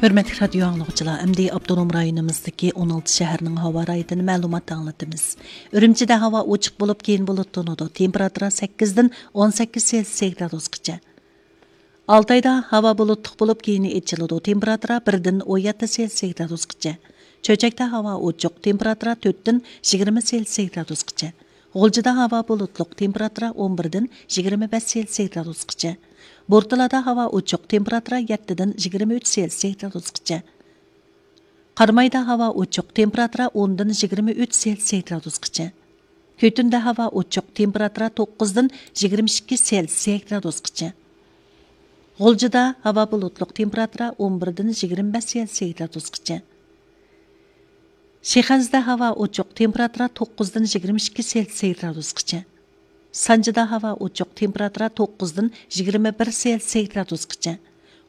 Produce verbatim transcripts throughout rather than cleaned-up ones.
ھۆرمەتلىك رادىيو ئاڭلىغۇچىلار، ئەمدى ئاپتونوم رايونىمىزدىكى ئون ئالتە شەھەرنىڭ ھاۋا رايىدىن مەلۇمات ئاڭلىتىمىز. ئۈرۈمچىدە ھاۋا ئوچۇق بولۇپ، كېيىن بۇلۇتلىنىدۇ. تېمپېراتۇرا سەككىزدىن ئون سەككىز سېلسىيە گرادۇسقىچە. ئالتايدا ھاۋا بۇلۇتلۇق بولۇپ، كېيىن ئېچىلىدۇ. تېمپېراتۇرا بىردىن ئون يەتتە سېلسىيە گرادۇسقىچە. چۆچەكتە ھاۋا ئوچۇق. تېمپېراتۇرا تۆتتىن يىگىرمە سېلسىيە گرادۇسقىچە. غۇلجىدا ھاۋا بۇلۇتلۇق. تېمپېراتۇرا ئون بىردىن يىگىرمە بەش سېلسىيە گرادۇسقىچە. بورتالادا ھاۋا ئوچۇق. تېمپېراتۇرا يەتتىدىن يىگىرمە ئۈچ سېلسىيە گرادۇسقىچە. قارامايدا ھاۋا ئوچۇق. تېمپېراتۇرا ئوندىن يىگىرمە ئۈچ سېلسىيە گرادۇسقىچە. كۈتۈندە ھاۋا ئوچۇق. تېمپېراتۇرا توققۇزدىن يىگىرمە ئىككى سېلسىيە گرادۇسقىچە. غۇلجىدا ھاۋا بۇلۇتلۇق. تېمپېراتۇرا ئون بىردىن يىگىرمە بەش سېلسىيە گرادۇسقىچە. شىخەنزىدە ھاۋا ئوچۇق. تېمپېراتۇرا توققۇزدىن يىگىرمە ئىككى سېلسىيە گرادۇسقىچە. سانجىدا ھاۋا ئوچۇق. تېمپېراتۇرا توققۇزدىن يىگىرمە بىر سېلسىيە گرادۇسقىچە.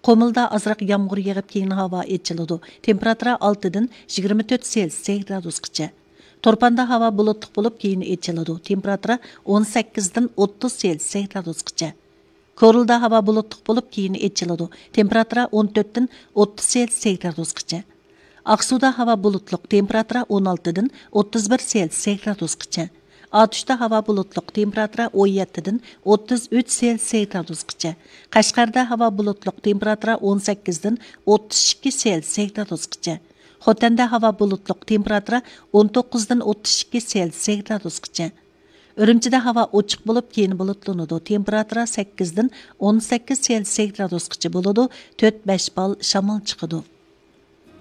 قۇمۇلدا ئازراق يامغۇر يېغىپ، كېيىن ھاۋا ئېچىلىدۇ. تېمپېراتۇرا ئالتىدىن يىگىرمە تۆت سېلسىيە گرادۇسقىچە. تۇرپاندا ھاۋا بۇلۇتلۇق بولۇپ، كېيىن ئېچىلىدۇ. تېمپېراتۇرا ئون سەككىزدىن ئوتتۇز سېلسىيە گرادۇسقىچە. كورلىدا ھاۋا بۇلۇتلۇق بولۇپ، كېيىن ئېچىلىدۇ. تېمپېراتۇرا ئون تۆتتىن ئوتتۇز سېلسىيە گرادۇسقىچە. ئاقسۇدا ھاۋا بۇلۇتلۇق، تېمپېراتۇرا ئون ئالتىدىن ئوتتۇز بىر سېلسىيە گرادۇسقىچە. ئاتۇشتا ھاۋا بۇلۇتلۇق، تېمپېراتۇرا ئون يەتتىدىن ئوتتۇز ئۈچ سېلسىيە گرادۇسقىچە. قەشقەردە ھاۋا بۇلۇتلۇق، تېمپېراتۇرا ئون سەككىزدىن ئوتتۇز ئىككى سېلسىيە گرادۇسقىچە. خوتەندە ھاۋا بۇلۇتلۇق، تېمپېراتۇرا ئون توققۇزدىن ئوتتۇز ئىككى سېلسىيە گرادۇسقىچە. ئۈرۈمچىدە ھاۋا ئوچۇق بولۇپ، كېيىن بۇلۇتلىنىدۇ. تېمپېراتۇرا سەككىزدىن ئون سەككىز سېلسىيە گرادۇسقىچە بولىدۇ، تۆت بەش بال شامال چىقىدۇ.